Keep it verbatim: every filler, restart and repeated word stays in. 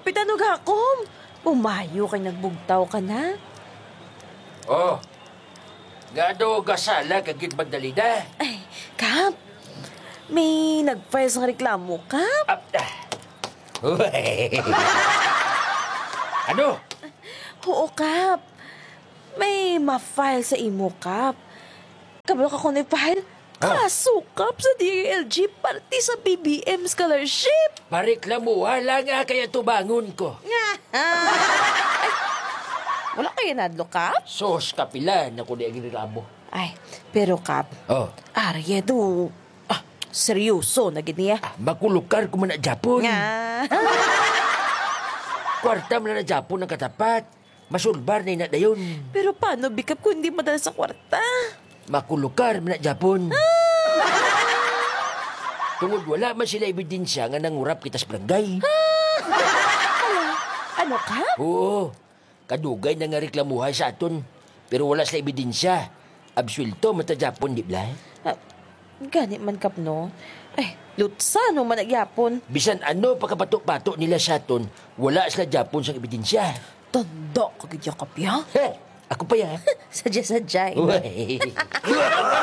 Kapitan, ug hakom, pumayo kay nagbugtaw ka na. Oh, nga daw gasala ka gid, Magdalena? Ay, Kap, may nag-file sang reklamo, Kap. Ah, ah. Ano? Oo, Kap. May ma-file sa imo, Kap. Kabalo ka kung may file? Oh. Kaso, Kap, sa D I L G, parte sa B B M scholarship. Pareklamuha lang nga kaya tubangon ko. Nga. Ay, wala kayo nadlo, Kap? Sos, kapilan ako di ang reklamo. Ay, pero, Kap, Oh. Arya do. Ah. Seryoso na gid niya. Ah, makulukar ko man na Japon. Nga. Kwarta man na Japon ang katapat. Masulbar na ina dayon. Pero paano, Bikap, kung hindi madala sa kwarta? Makulukar man na Japon. Tungod wala man sila ebidensya nga nangurap kita sa barangay. Ano ka? Oo. Kadugay na nga reklamuhay sa aton. Pero wala sila ebidensya. Absuelto man ta Japon, di ba? Ah, gani man, Kap, no? Ay, lutsano man na gyapon. Bisan ano pagkapato-pato nila sa aton, wala sila Japon sang ebidensya. Tanda ka gid ya, Kap, ya? He, ako pa ya. Sadya-sadya, eh. Uy.